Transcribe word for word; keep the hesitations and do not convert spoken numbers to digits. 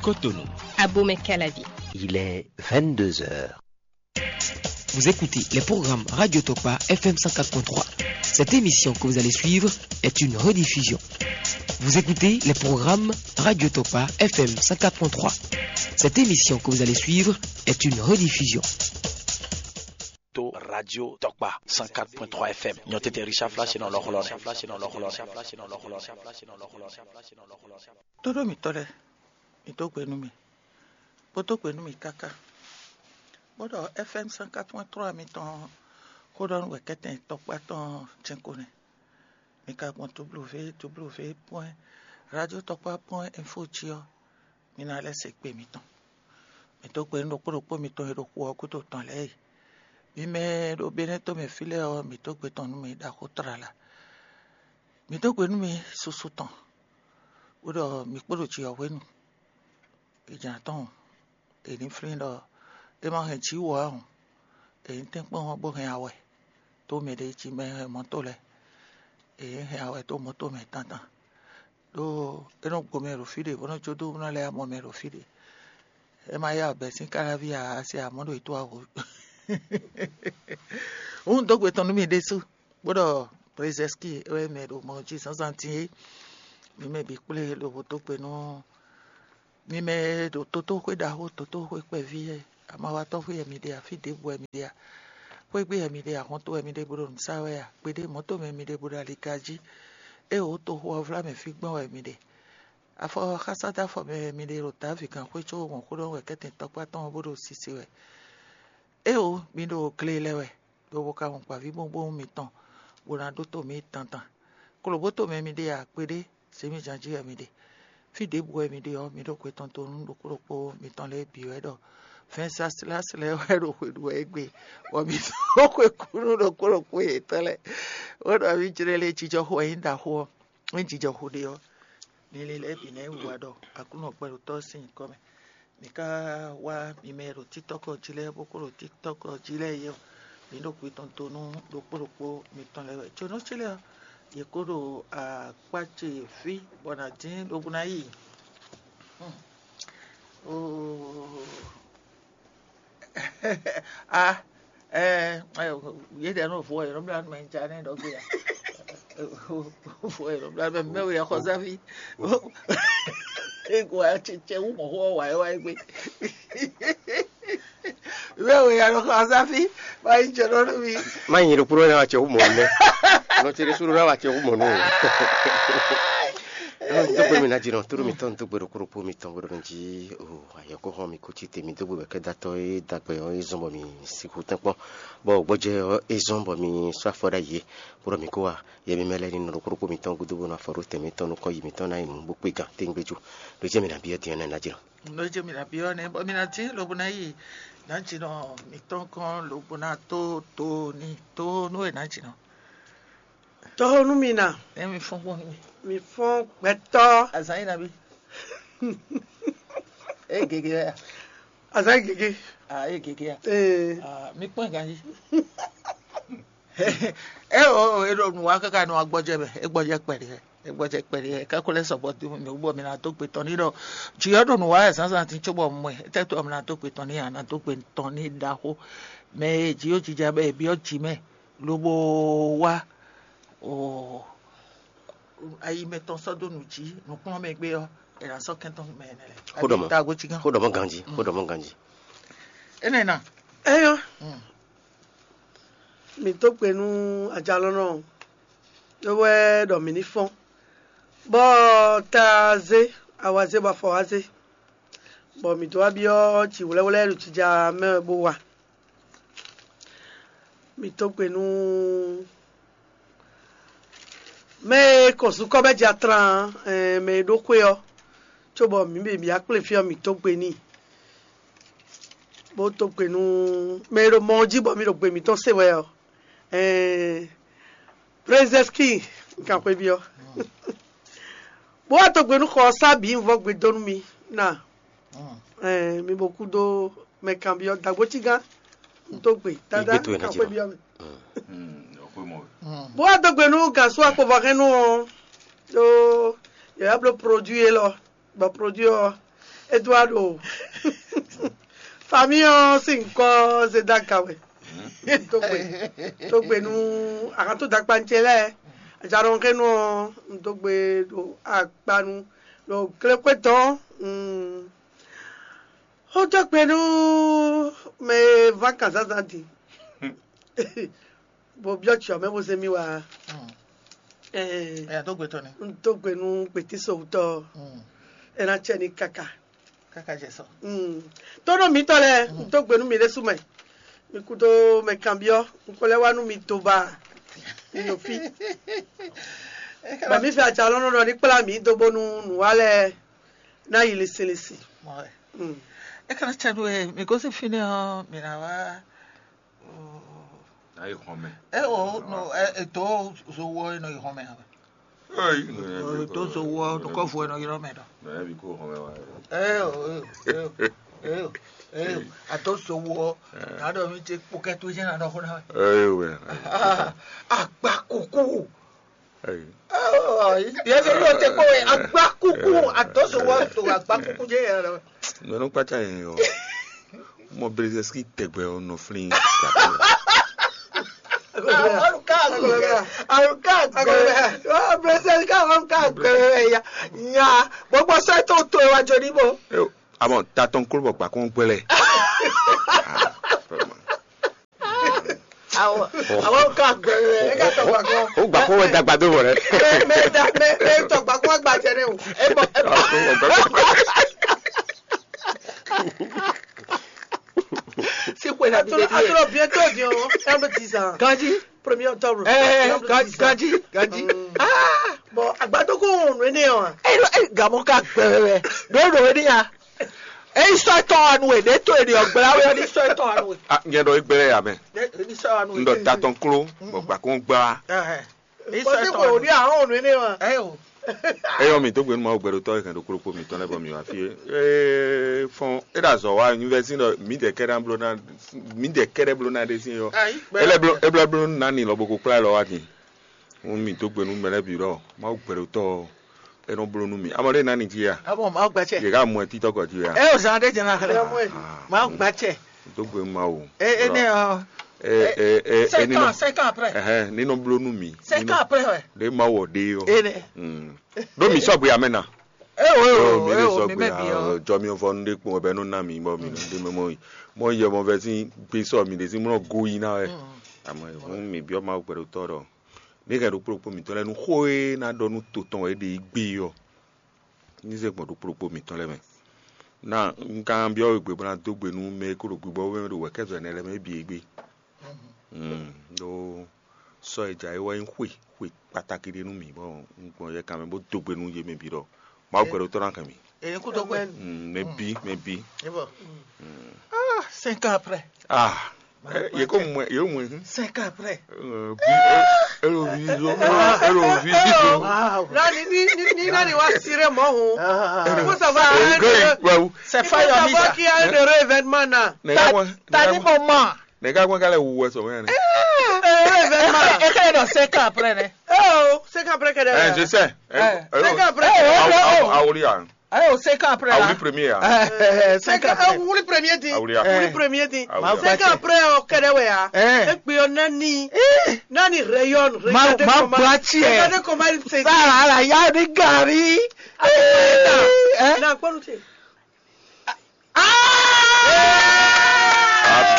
Cotonou. Abomey Calavi. Il est vingt-deux heures. Vous écoutez les programmes Radio Tokpa F M cent quatre point trois. Cette émission que vous allez suivre est une rediffusion. Vous écoutez les programmes Radio Tokpa F M cent quatre point trois. Cette émission que vous allez suivre est une rediffusion. To Radio Tokpa cent quatre point trois F M. Nyɔtete Richard Flash nɔ lɔxlɔ́. Todo mitɔ́ lɛ́ɛ, mi dó gbe nú mì, bó dó gbe nú mì káká, bó ɖɔ F M cent quatre point trois mitɔn xó ɖɔ nú wɛ kɛ́tɛn tɔkpá tɔn jɛ́n ko nɛ́. Mi ka gbɔn W W W point radio tɔkpá point info jí ɔ́, mi ná lɛ́ se gbe mitɔn. Mi dó gbe nú ɖokpó ɖokpó mitɔn e ɖo xu ɔ́ gúdo tɔn lɛ́ɛ e. Mi mɛ e ɖo Benɛ́ to mɛ fí lɛ́ɛ ɔ́, mi dó gbe tɔn nú mi ɖaxó tlala. Mi dó gbe nú mi susu tɔn, bó ɖɔ mi kpo ɖo jǐ ɔ́ hwenu. È jǎn tɔn è ní flín ɖɔ é ma hɛn jǐ wú ǎ hǔn, è ní tɛ́nkpɔ́n ɔ́ bó hɛn awɛ dó mɛɖé jí mɛ hɛn mɔ̌to lɛ́ɛ. È nǐ hɛn awɛ dó mɔ̌to mɛ tantan, ɖó é nɔ gbo mɛ ɖo fí ɖé, bó nɔ jó dó bó nɔ lɛ́ amɔ mɛ ɖo fí ɖé. É ma yá bɛ̌ sín káláví ǎ, a se amɔ̌ ɖo yě tó aho. Hǔn dó gbe tɔn nú mì ɖésú, bó ɖɔ Brezɛ́ski é wɛ mɛ ɖo mɔ jí zǎnzǎn din é. Mi mɛ bǐ kplé lobo dó gbe nú mi mɛ e ɖo totóxwé ɖaxó, totóxwé kpɛví e amawatɔ́xwé wɛ mi ɖe a, fí ɖěbǔ wɛ mi ɖe a, xwé gbe wɛ mi ɖe a, xɔ́ntɔn wɛ mi ɖe bó ɖo nǔ sa wɛ a, kpeɖé mɔ̌to mɛ mi ɖe bó ɖo aliga jí, é wǒ toxo ɔ́ vlá mɛ fí gbɔn wɛ mi ɖe. Afɔ xásádáfɔ mɛ wɛ mi ɖe ɖo Davi gǎnxwé có wɔ̌nxó ɖɔhun wɛ kɛ́tɛn tɔkpá tɔn ɔ́ bó ɖo sise wɛ. Éeǒ, mi ɖo gle lɛ́ wɛ, lobo ka wɔn gbǎvíbówúnbówún mitɔn, bó ná ɖótó mǐ dandan. Klobǒto mɛ mi ɖe a, kpeɖé, zěmijǎn jí wɛ mi ɖe. Fí ɖěbǔ wɛ mi ɖe ɔ́, mi ɖó kwetɔ́n dó nú ɖokpó ɖokpó mitɔn lɛ́ɛ bǐ wɛ ɖɔ vɛ̌ɛn sásláslɛ wɛ ɖo xwe ɖu wɛ égbé, bɔ mi dó xwe kú nú ɖokpó ɖokpó yětɔn lɛ́ɛ. Bó ɖɔ mǐ jlɛ́ lé jijɔ xo wɛ nyí ɖaxó ɔ́. Ényí jijɔ xo ɖe ɔ́, linlin lɛ́ɛ bǐ ná yi wiwa ɖɔ Aklúnɔ gbɛɖotɔ́ sín nyǐkɔ mɛ. Mǐ ka wá mi mɛ e ɖo TikTɔ́k jí lɛ́ɛ, bó kó ɖo TikTɔ́k jí lɛ́ɛ é ɔ́, mǐ ɖo kwi tɔn to nú ɖokpó ɖokpó mitɔn lɛ́ɛ wɛ. Jonɔ́ ce lɛ́ɛ ɔ́, yě kó ɖo akpá ce fí bɔ nǎ dín lobo ná yi. Oo. Ah, eh, eh, yě ɖɛ nɔ vo ɛ, nɔ bla mɛ ja nɛ ɖɔ gbé ya. Vo ɛ, nɔ bla mɛ mɛ wɛ xɔ zavi. Ego a tsɛ tsɛ wu mɔ xɔ wa wa gbé. Mɛ wɛ ya nɔ xɔ zavi. Ma yi jɛ nɔ mi. Ma yi ɖo kúrò na wa tsɛ wu mɔ nɛ. Nɔ ti ɖe suru na wa tsɛ wu mɔ nɛ. Tó gbé mi ná jí nɔ, tó mi tɔn tó gbé ɖo kúrò pó mi tɔn gbé ɖo nɔ jí. O, ayɔkɔ hɔn mi kú títí mi dó gbé wɛ kɛ datɔ é dagbɛ ɔ é zɔn bɔ mi sixú tɛnkpɔn, bɔ gbɔjɛ ɔ é zɔn bɔ mi sɔ afɔ ɖ'ayǐ é, bó ɖɔ mi kó wa yɛ mi mɛ lɛ ní nɔ ɖo kúrò pó mi tɔn gúdo bó nɔ afɔ ɖó tɛn mi tɔn nukɔn yi mi tɔn ná yi nǔ bó kpé gán téngbé jú. Ɖó jẹ́ mi nà byɔ́ dín ɔ́ nɛ ná jí nɔ. Nɔ jẹ́ mi nà byɔ́ nɛ bɔ mi ná dín lobo ná yi ná jí nɔ mi tɔn kɔn lobo ná tó tó ní tó nú é ná jí nɔ. Tɔ́ nú mi na. Emi fɔn kpɔn mi. Mi fɔn gbɛtɔ. Azan yi na bi. E gege ya. Azan gege. Ah, e gege ya. Ee. Ah, mi kpɔn ganji. E o e ɖo nu wa kaka nu agbɔjɛ mɛ, e gbɔjɛ kpɛɖi hɛ, e gbɔjɛ kpɛɖi hɛ. Kakɔ lɛ sɔgbɔ dun mi wú bɔ mi na dó gbe tɔn ní ɖɔ. Jiyɔ ɖo nu wa yɛ zazan ti tso bɔ mɔɛ, tɛ to mi na dó gbe tɔn ní ya, na dó gbe tɔn ní ɖaxó. Mɛ e jiyɔ jija bɛ e biɔ ji mɛ. Lobo wá o ayi mɛtɔn sɔ́ dó nǔ jí nǔkplɔ́nmɛ gbé ɔ́, è nǎ sɔ́ kɛntɔ́ mɛ énɛ́ lɛ́ɛ. Xó ɖɔ mɔ̌. Tago cí gán. Xó ɖɔ mɔ̌ ganjí. Xó ɖɔ mɔ̌ ganjí. Énɛ́ ná. Eyɔ́. Mm. Mǐ tó gbe nú ajalɔ́nɔ ɔ́, é wɛ ɖɔ mǐ ní fɔ́n, bɔ ta zé, awa zé, bɔ afɔ wá zé, bɔ mǐ dó wá byɔ́ jǐ wlɛ́wlɛ́ ɖo jija mɛ wɛ bó wa. Mǐ tó gbe nú mɛ e kɔn zukɔ́ bɛ́ ja tlán, ɛɛ, mɛ e ɖó xwé ɔ́, cóbɔ mǐ bǐ mǐ akplé fí ɔ́, mǐ tó gbe n'i, bó tó gbe nú mɛ e ɖo mɔ ɔ́ jí bɔ mǐ ɖo gbe mǐtɔn se wɛ ɔ́, ɛɛ, Brezɛ́ski kanxweví ɔ́. Bó wá tó gbe nú xɔ ɔ́ sá bǐ un vɔ gbe dó nú mi ná. Ɛɛ, mi bo kú dó mɛ kanbyɔ́ dagbo cí gán. Un tó gbe tada Igbe towe ná jí kanxweví ɔ́ mɛ. Bó wá dó gbe nú gǎn sú akpovɔ́ hɛn nú ɔ́, ɖó yě wá bló produit élɔ́, bɔ produit ɔ́, Eduardo. Famille ɔ́ sín nyǐkɔ Zedaka wɛ. Tó gbe, tó gbe nú ahan tó dakpancɛ lɛ́ɛ. Ajaɖɔnkɛnu ɔ́, un dó gbe ɖo akpanu ɖo glexwé tɔn. Ó dó gbe nú mɛ e ván kan zǎnzǎn din. Bo byɔ́ cyɔ mɛ bo zé mì wá. Ɛɛ, Ɛ tó gbe tɔn ni. Un dó gbe nú gbětísowutɔ́. Ɛ ná cɛ ní káká. Káká jɛ sɔ. Tónú mǐtɔn lɛ́ɛ, un dó gbe nú mi ɖésú mɛ. Mi kúdó mɛ kanbyɔ́, un ko lɛ́ wá nú mi do ba. Mi ɖo fí. Bɔ mǐ fɛ aca lɔ́nɔ ɖɔ ní kplá mǐ dó bónú nǔwa lɛ́ɛ ná yi lisilisi. Mɔ wɛ. Mm. É ka ná cɛ nú we, mi gosín fínɛ́ ɔ́, mi ná wá. Ná yi xɔmɛ. É o no, é, é tó zo wɔ é nɔ yi xɔmɛ ǎ. Éyi, Tó zo wɔ nukɔ́fu é nɔ ylɔ́ mɛ ɖɔ. Nɔ yɛ bi kó xɔmɛ wa. É o, é o, é o, é o, é o. Ato zo wɔ, ná ɖɔ mi ce kpókɛ tó jẹ́ ná ɖɔ xó ná wɛ. Éyi wɛ. Agba kuku. Éyi. Yɛ fɛ yóò tɛ kpó wɛ agba kuku, ato zo wɔ to agba kuku jẹ́ yɛ ɖɔ. Nɔ nɔ kpata yẹn yɔ. Mɔ Brzezinski tɛgbɛ ɔ nɔ flin. Aluka aluka aluka gbɛ. Brzezinski aluka gbɛ ya. Nya gbogbo sɛ tó tó wa jɔ ní bo. Amɔ tatɔn kúrò bɔ gbàkún gbɛlɛ. Awɔ awɔ ka gbɛ ɛ ka tɔ gbàkún. O gbàkún wɛ dàgbà dó bɔ rɛ. Mɛ mɛ da mɛ mɛ tɔ gbàkún gba jɛ ne o. E bɔ e bɔ. Si xwe na bi de die. Atro bientôt, bien, hein, dix ans. Ganji. Premier octobre. Eh, ganji, ganji, ganji. Ah, bon, agbadoko on ne en. Eh, eh, gamon ka gbɛrɛ. Do do ni ya. Eh, sɔ tɔn anu e, de to e de ogbla we ni sɔ tɔn anu e. Ah, nyɛ ɖɔ egbele ya mɛ. De ni sɔ anu e. Ŋdɔ tatɔn klo, bɔ gbakun gba. Eh. Bɔn ní kò ní àwọn ònú ní wa. Ẹ o. Eyɔ mi tó gbénu Mawu gbɛɖotɔ́ e hɛn ɖo kplokpó mǐtɔn lɛ́ɛ bɔ mǐ wá fí é. Ee fɔn é ɖo azɔ̌ wa nyí vɛ́ sín ɖɔ mǐdɛɛ kɛ́ɖɛ́ bló ná mǐdɛɛ kɛ́ɖɛ́ bló ná ɖe sín é ɔ́. Ayi. É lɛ́ bló é bló bló ná ni lɔ bo ko kplá ɛ lɔ wá din. Wún mǐ dó gbe nú mɛ lɛ́ɛ bǐ ɖɔ Mawu gbɛɖotɔ́ ɔ́ é nɔ bló nú mǐ. Amɔ ɖé ná ni jí a? Abɔ Mawu gbɛtsɛ. Yě ká mɔ ɛ títɔ́ kɔ jí a? Ɛ o zan ɖé jɛ na xlɛ. Mawu gbɛtsɛ. Dó gbe Mawu. E e ne ɔ. E e e e Cinq ne ans, cinq ans après. Ɛhɛn, ne nɔ bló nú mi. Cinq ans après wɛ. Ɖe ma wɔ ɖe ɔ. E ne. Mm. Ɖo mi sɔgbe amɛ na. E o e o mi e le o mi sɔgbe mɛ bi a ɔ. Jɔ mi vɔ nu ɖe kpɔn bɛ nɔ na mi bɔ mi nɔ ɖe mɛ mɔ yi. Mɔ yɛ mɔ vɛ si gbe sɔ mi ɖe si mɔ go yi na wɛ. Amɔ hun mi biɔ Mawu gbɛɖotɔ ɖɔ. Ne hɛn ɖo kplokpó mi tɔ lɛ nu xó e na ɖɔ nu to tɔn wɛ ɖe yi gbe ɔ. Ní zé gbɔn ɖo kplokpó mǐtɔn lɛ́ɛ mɛ. Ná un ka byɔ́ we gbe bó ná dó gbe nú mɛ e ko ɖo gbigbɔ wú mɛ ɖo wɛ̌kɛ́zɔ ɛnɛ lɛ́ɛ mɛ bǐ é gbé. Ɖó sɔ́ e jǎwe wɛ nyí xwe xwe kpatáki ɖé nú mǐ bɔ un gbɔn yɛ kan mɛ bó dó gbe nú yě mɛ bǐ ɖɔ Mawu gbɛɖotɔ́ ná hɛn mǐ. Èyí kú tó gbẹ. Mɛ bí mɛ bí. Cinq ans après. Ah. Yeko mwe yo mwe. Cinq ans après. Elo vi zo elo vi zo. Nani ni ni ni nani wa sire mɔ ho. Ko ça va. Wawu. C'est pas your mission. Qui a un heureux événement na. Tani moment. Ne ka kwen kale wu wɛ sɔmɛ ne. Heureux événement. E kele dɔ cinq ans après ne. Oh, cinq ans après kele. Eh, je sais. Cinq ans après. Awuli ya. Ayo cinq ans après. Awuli premier ya. Cinq ans après. Wuli premier di. Awuli ya. Wuli premier di. Cinq ans après o kɛlɛ wɛ ya. E kpe yɔ nani. Nani rayonne. Regardez comment. Regardez comment il se. Sara ala ya ni gari. Na kpɔnu te.